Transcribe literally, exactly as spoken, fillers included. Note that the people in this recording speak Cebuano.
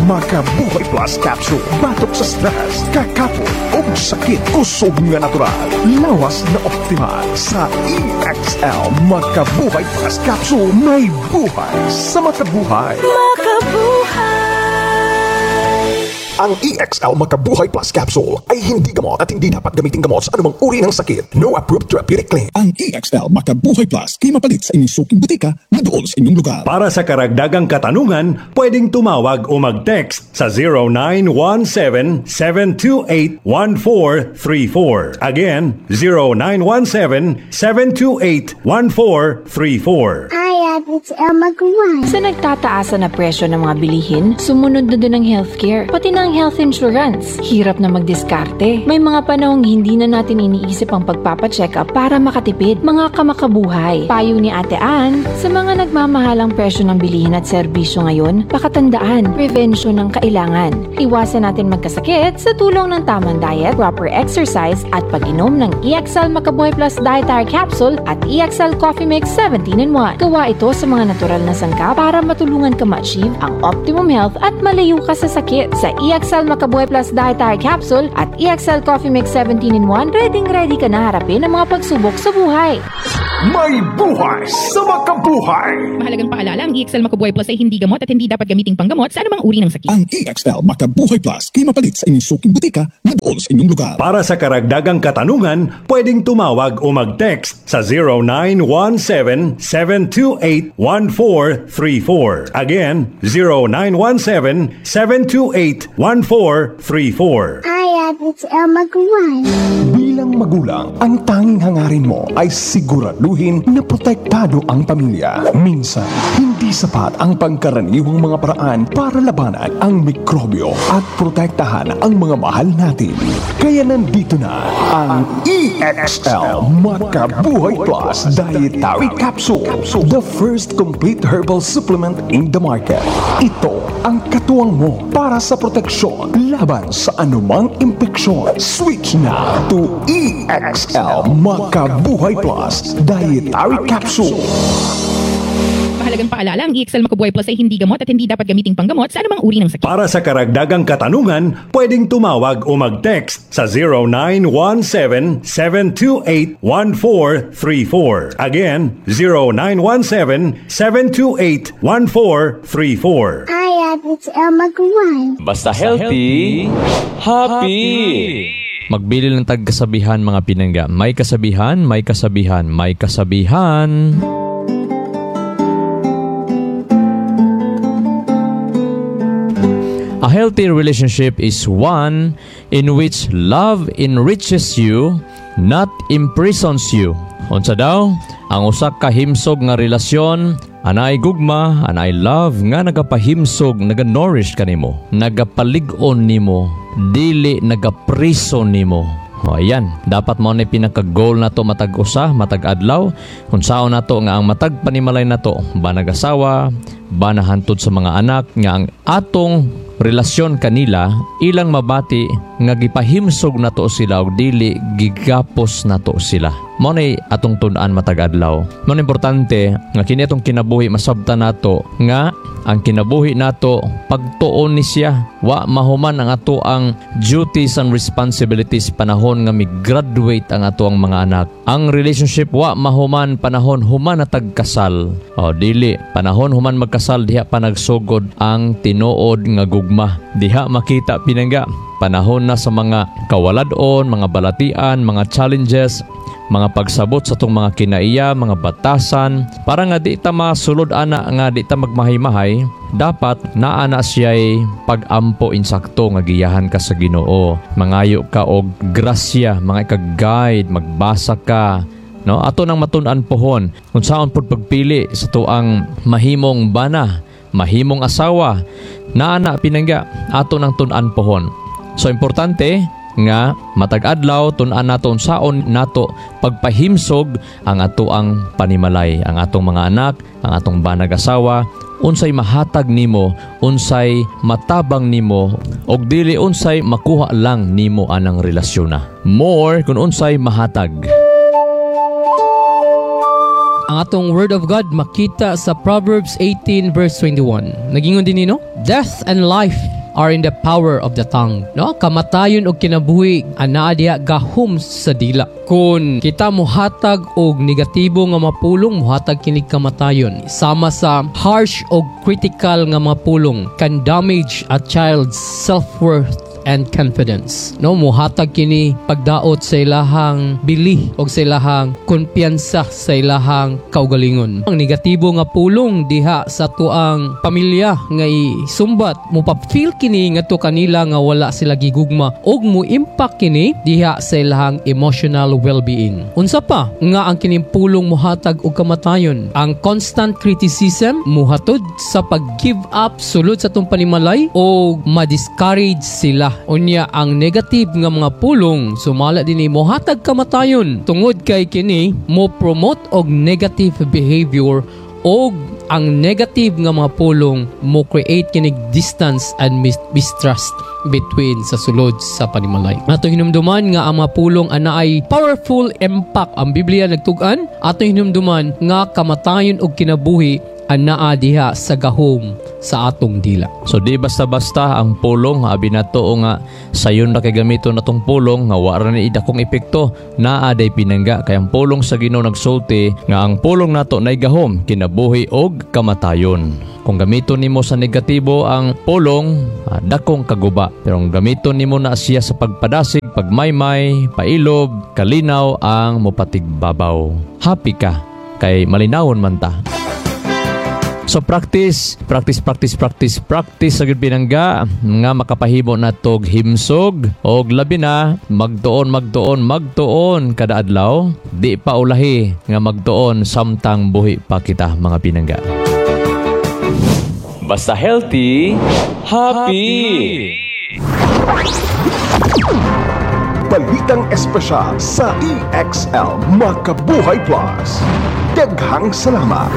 Makabuhay Plus Capsule. Batok sa stress, kakapot, ug sakit. Kusog nga natural. Lawas na optimal. Sa E X L Makabuhay Plus Capsule, may buhay sa makabuhay. Makabuhay. Ang E X L Makabuhay Plus Capsule ay hindi gamot at hindi dapat gamitin gamot sa anumang uri ng sakit. No approved therapeutic claim. Ang E X L Makabuhay Plus kay mapalit sa inyong suking botika na duol sa inyong lugar. Para sa karagdagang katanungan, pwedeng tumawag o mag-text sa zero nine one seven, seven two eight, one four three four. Again, zero nine one seven, seven two eight, one four three four. Hi, it's Elma Guan. Sa nagtataasa na presyo ng mga bilihin, sumunod na din ang healthcare, pati na ang health insurance. Hirap na magdiskarte. May mga panahong hindi na natin iniisip ang pagpapacheck up para makatipid. Mga kamakabuhay. Payo ni Ate Ann, sa mga nagmamahalang presyo ng bilihin at serbisyo ngayon, pakatandaan, prevention ang kailangan. Iwasan natin magkasakit sa tulong ng tamang diet, proper exercise, at pag-inom ng E X L Makabuhay Plus Dietary Capsule at E X L Coffee Mix seventeen in one. Gawa ito sa mga natural na sangkap para matulungan ka ma-achieve ang optimum health at malayo ka sa sakit. Sa E X L Makabuhay Plus Dietary Capsule at E X L Coffee Mix seventeen in one, ready ready ka na harapin ang mga pagsubok sa buhay. May buhay sa makabuhay. Mahalagang paalala, ang E X L Makabuhay Plus ay hindi gamot at hindi dapat gamiting panggamot sa anumang uri ng sakit. Ang E X L Makabuhay Plus kay mapalit sa inyong suking botika na duol sa inyong lugar. Para sa karagdagang katanungan, pwedeng tumawag o mag-text sa zero nine one seven, seven two eight, one four three four. Again, zero nine one seven, seven two eight, one four three four. Hi, it's Elma Guan. Bilang magulang, ang tanging hangarin mo ay siguraduhin na protektado ang pamilya. Minsan, hindi sapat ang pangkaraniwang mga paraan para labanan ang mikrobyo at protektahan ang mga mahal natin. Kaya nandito na ang E X L Makabuhay Plus Dietary Capsule, the first complete herbal supplement in the market. Ito ang katuwang mo para sa proteksyon laban sa anumang impeksyon. Switch na to E X L Makabuhay Plus Dietary Capsule. Mahalagang paalala, ang E X L Makabuhay Plus ay hindi gamot at hindi dapat gamiting panggamot sa anumang uri ng sakit. Para sa karagdagang katanungan, pwedeng tumawag o mag-text sa zero nine one seven, seven two eight, one four three four. Again, zero nine one seven, seven two eight, one four three four. Hi, it's Elma Guan. Basta healthy, happy. Magbilin lang tag kasabihan, mga pinangga. May kasabihan, may kasabihan, may kasabihan. A healthy relationship is one in which love enriches you, not imprisons you. Unsa daw? Ang usa ka himsog nga relasyon, anay gugma, anay love nga nagapahimsog, naga-nourish kanimo, nagapalig-on nimo, dili nagapriso nimo. O ayan, dapat mao na pinaka-goal nato matag usa, matag adlaw, kung saon nato nga ang matag panimalay nato, ba nag-asawa, ba nahantod sa mga anak, nga ang atong relasyon kanila ilang mabati nga gipahimsog nato sila og dili gigapos nato sila. Mao nay atong tun-an matag adlaw. Mao na importante nga kini atong kinabuhi, masabtan nato nga ang kinabuhi nato pagtuon ni siya. Wa mahuman ang ato ang duties and responsibilities panahon nga mi-graduate ang ato ang mga anak. Ang relationship, wa mahuman panahon human na tagkasal. O dili, panahon human magkasal, diha pa nagsugod ang tinuod nga gugma. Diha makita, pinangga, panahon na sa mga kawaladon, mga balatian, mga challenges, mga pagsabot sa atong mga kinaiya, mga batasan, para nga di ta masulod ana, nga di ta magmahay-mahay, dapat naa na siya'y pag-ampo insakto nga giyahan ka sa Ginoo. Mangayo ka og grasya, mga ka-guide, magbasa ka, no? Ato nang matun-an pohon kung saon pud pagpili sa tuang mahimong bana, mahimong asawa, naa na, pinangga, ato nang tun-an pohon. So importante nga matag adlaw tun-an nato unsaon nato pagpahimsog ang atoang panimalay, ang atong mga anak, ang atong banag asawa, unsay mahatag nimo, unsay matabang nimo, og dili unsay makuha lang nimo anang relasyon na. More kung unsay mahatag. Ang atong word of God makita sa Proverbs eighteen verse twenty-one. Nagingon din nino, "Death and life are in the power of the tongue. No? Kamatayon og kinabuhi anaa diha gahom sa dila. Kung kita muhatag og negatibo nga mapulong, muhatag kinig kamatayon. Sama sa harsh og critical nga mga pulong can damage a child's self-worth and confidence. No, muhatag kini pagdaot sa ilahang bili og sa ilahang kumpiyansa sa ilahang kaugalingon. Ang negatibo nga pulong diha sa tuang pamilya nga isumbat mo pa-feel kini ngadto kanila nga wala sila gigugma og mo impact kini diha sa ilahang emotional well-being. Unsa pa nga ang kining pulong muhatag og kamatayon? Ang constant criticism muhatod sa pag-give up sulod sa atong panimalay o ma-discourage sila. Unya ang negative nga mga pulong sumala dinhi mohatag kamatayon tungod kay kini mo promote og negative behavior og ang negative nga mga pulong mo create kinig distance and mis- mistrust between sa sulod sa panimalay. Atong hinumduman nga ang mga pulong anaay powerful impact ang Biblia nagtug-an. Atong hinumduman nga kamatayon og kinabuhi anaa diha sa gahom sa atong dila. So di basta-basta ang pulong abi nato nga sayon ra kay gamiton natong pulong nga wa ra ni dakong epekto naa day pinangga kay ang pulong sa Ginoo nagsulti nga ang pulong nato nay gahom kinabuhi og kamatayon. Kung gamiton nimo sa negatibo ang pulong, ah, dakong kaguba. Pero kung gamiton nimo na siya sa pagpadasig, pagmaymay, pailob, kalinaw ang mopatigbabaw. Happy ka kay malinawon man ta. So practice, practice, practice, practice, practice sa gyud pinangga nga makapahimo natog himsog og labi na magtuon, magtuon, magtuon kada adlaw, di pa ulahi nga magtuon samtang buhi pa kita mga pinangga. Basta healthy, happy. Balitang espesyal sa E X L Makabuhay Plus. Daghang salamat.